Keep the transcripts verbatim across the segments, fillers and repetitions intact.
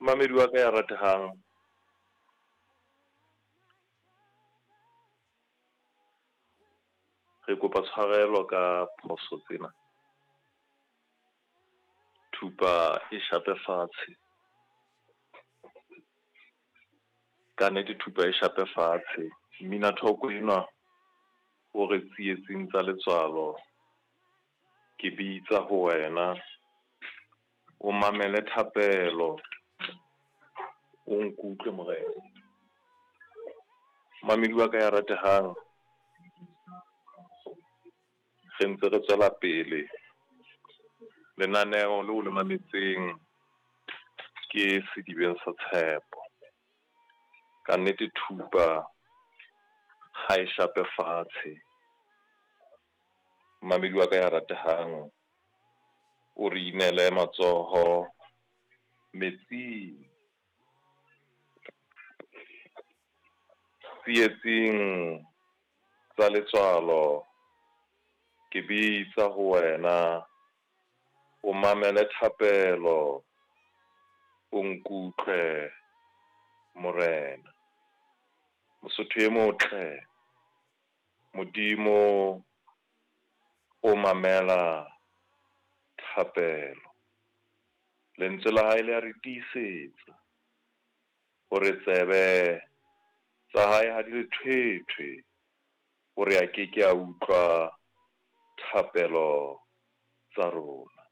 Mamedi wa ka ya ratehang, re kopa tshwarelo ka phoso tsena. Thupa e shape fatshe, kannete thupa e shape fatshe. Mmina thoko enwa o re tsietsing tsa letswalo, ke bitsa ho wena o mamele thapelo, o nkutlwe Morena. Momamedi wa ka ya ratehang, re ntse re tswela pele lenaneo leo le mametseng ke Sedibeng sa Tshepo. Kannete thupa ha e shape fatshe, momamedi wa ka ya ratehang o re inele matsoho metsing. Tsietsing tsa letswalo ke bitsa ho wena, o mamele thapelo, o nkutlwe Morena. Mosotho e motle, Modimo o mamela thapelo. Lentswe la hae le ya re tiisetsa hore tsebe tsa hae ha di lethwethwe hore a ke ke a utlwa thapelo tsa rona.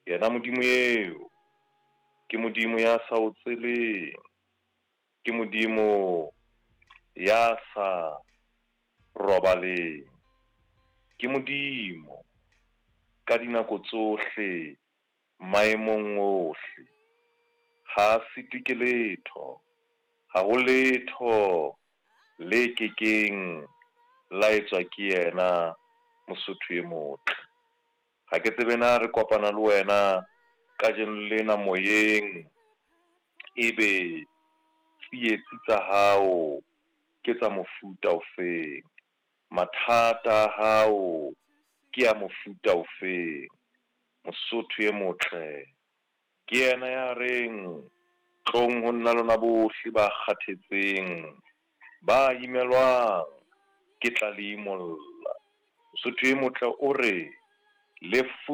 Yena Modimo eo ke Modimo ya sa o tseleng, ke Modimo ya sa robaleng, ke Modimo ka dinako tsohle maemong ohle. Ha sitwe ke letho, ha ho letho le kekeng la etswa ke yena Mosotho e motle. Ha ke tsebe na re kopana le wena kajeno lena moyeng, e be tsietsi tsa hao ke tsa mofuta o feng? Mathata a hao ke a mofuta o feng? Mosotho e motle ke yena ya reng tlong ho nna lona bohle ba kgathetseng, ba imelwang ke tla le imolla. Mosotho e motle o re le